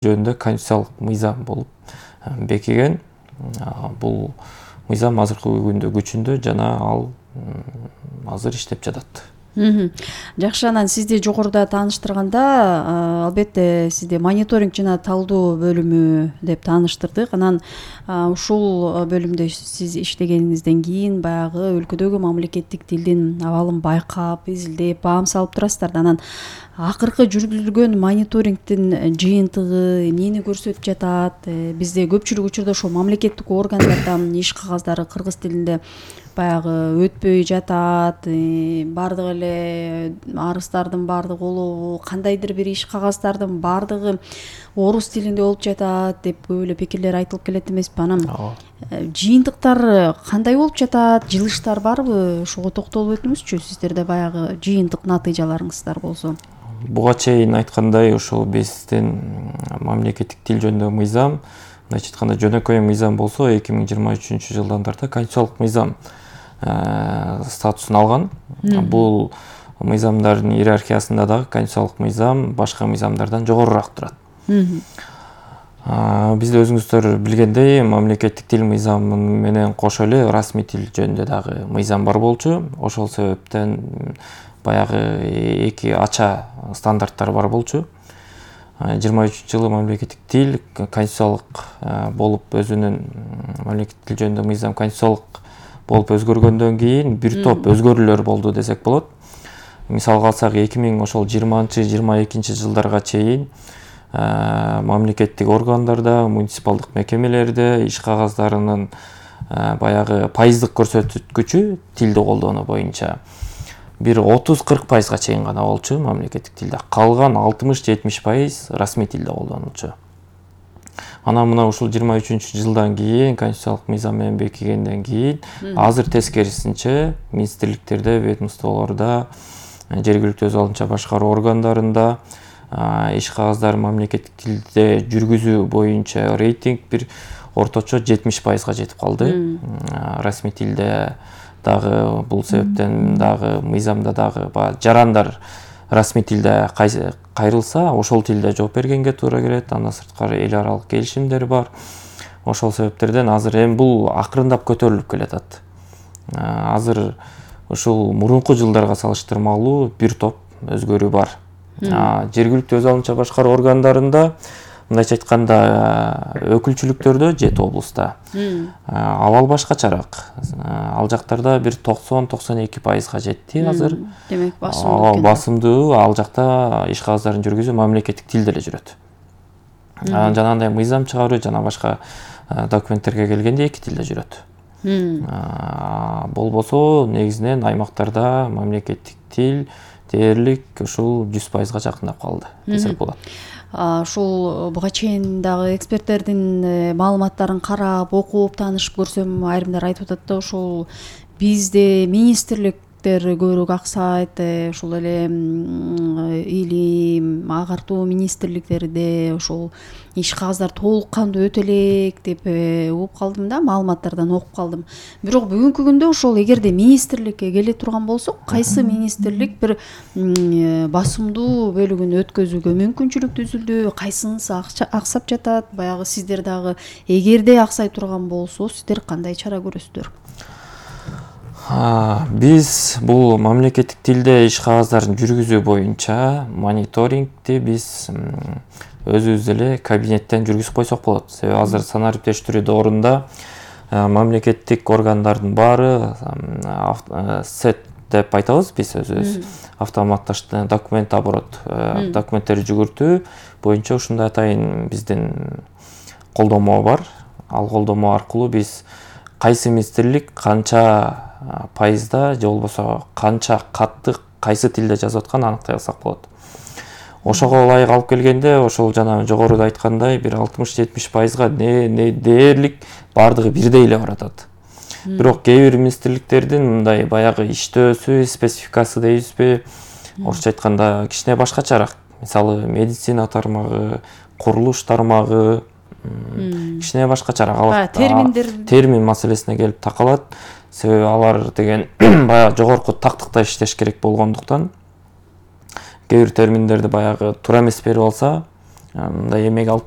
жөнүндө конституциялык мыйзам болуп бекиген. Бул мыйзам азыркы күндө күчүндө жана ал азыр иштеп жатат. Жакшы, анан сизди жогоруда тааныштырганда албетте сизди мониторинг жана талдоо бөлүмү деп тааныштырдык. Анан ушул бөлүмдө сиз иштегениңизден кийин баягы өлкөдөгү мамлекеттик тилдин абалын байкап, изилдеп, баам салып турасыздар да. Анан акыркы жүргүзүлгөн мониторингдин жыйынтыгы эмнени көрсөтүп жатат? Бизде көпчүлүк учурда ошол мамлекеттик органдардан иш кагаздары кыргыз тилинде баягы өтпөй жатат, бардык эле арыздардын бардыгы улуу, кандайдыр бир иш кагаздардын бардыгы орус тилинде болуп жатат деп көп эле пикирлер айтылып келет эмеспи? Анан жыйынтыктар кандай болуп жатат? Жылыштар барбы? Ошого токтолуп өтүңүзчү. Сиздерде баягы жыйынтык натыйжаларыңыздар болсо. Буга чейин айткандай, ошол биздин мамлекеттик тил жөнүндө мыйзам, мындайча айтканда жөнөкөй мыйзам болсо 2023 жылдан тарта конституциялык мыйзам статусун алган. Бул мыйзамдардын иерархиясында дагы конституциялык мыйзам башка мыйзамдардан жогорураак турат. Бизде өзүңүздөр билгендей, мамлекеттик тил мыйзамы менен кошо эле расмий тил жөнүндө дагы мыйзам бар болчу. Ошол себептен баягы эки ача стандарттар бар болчу. 23 жылы мамлекеттик тил конституциялык болуп өзүнүн мамлекеттик тил жөнүндө мыйзам конституциялык болуп өзгөргөндөн кийин бир топ өзгөрүүлөр болду десек болот. Мисалга алсак 2020-22 жылдарга чейин мамлекеттик органдарда, муниципалдык мекемелерде иш кагаздарынын баягы пайыздык көрсөткүчү тилди колдонуу боюнча бир 30-40% чейин гана болчу мамлекеттик тилде. Калган 60-70% расмий тилде колдонулчу. Анан мына ушул 23 жылдан кийин конституциялык мыйзам менен бекигенден кийин азыр тескерисинче министрликтерде, ведомстволордо, жергиликтүү өз алынча башкаруу органдарында иш кагаздар мамлекеттик тилде жүргүзүү боюнча рейтинг бир орточо 70%га жетип калды. Расмий тилде дагы бул себептен дагы мыйзамда дагы жарандар расмий тилде кайрылса, ошол тилде жооп бергенге туура келет. Андан сырткары эл аралык келишимдер бар. Ошол себептерден азыр эми бул акырындап көтөрүлүп келатат. Азыр ушул мурунку жылдарга салыштырмалуу бир топ өзгөрүү бар. Жергиликтүү өз алынча башкаруу органдарында, мындайча айтканда, өкүлчүлүктөрдө 7 облуста абал башкачараак. Ал жактарда бир 90-92%га жетти азыр. Демек басымдуу ал жакта иш кагаздарын жүргүзүү мамлекеттик тилде эле жүрөт. Жанагындай мыйзам чыгаруу жана башка документтерге келгенде эки тилде жүрөт. Болбосо негизинен аймактарда мамлекеттик тил дээрлик ушул 100%га жакындап калды десек болот. Ушул буга чейин дагы эксперттердин маалыматтарын карап, окуп, таанышып көрсөм, айрымдар айтып атат да, ушул бизде министрликтер көбүрөөк аксайт, ушул эле илим, агартуу министрликтерде ушул иш кагаздар толук кандуу өтө элек деп угуп калдым да, маалыматтардан окуп калдым. Бирок бүгүнкү күндө ошол эгерде министрликке келе турган болсок, кайсы министрлик бир басымдуу бөлүгүн өткөзүүгө мүмкүнчүлүк түзүлдү, кайсынысы аксап жатат? Баягы сиздер дагы эгерде аксай турган болсо, сиздер кандай чара көрөсүздөр? Биз бул мамлекеттик тилде иш кагаздарын жүргүзүү боюнча мониторингти биз өзүбүз эле кабинеттен жүргүзүп койсок болот. Себеби азыр санариптештирүү доорунда мамлекеттик органдардын баары сет деп айтабыз биз өзүбүз. Автоматташтырылган документ оборот, документтерди жүгүртүү боюнча ушундай атайын биздин колдомо бар. Ал колдомо аркылуу биз кайсы министрлик канча пайызда же болбосо канча катты кайсы тилде жазып атканын аныктай алсак болот. Ошого ылайык алып келгенде, ошол жана жогоруда айткандай бир 60-70%га дээрлик бардыгы бирдей эле баратат. Бирок кээ бир министрликтердин мындай баягы иштөөсү, спецификасы дейбизби, орусча айтканда кичине башкачараак. Мисалы, медицина тармагы, курулуш тармагы кичине башкачараак. Термин маселесине келип такалат. Себеби алар деген баягы жогорку тактыкта иштеш керек болгондуктан кээ бир терминдерди баягы туура эмес берип алса, мындай эмеге алып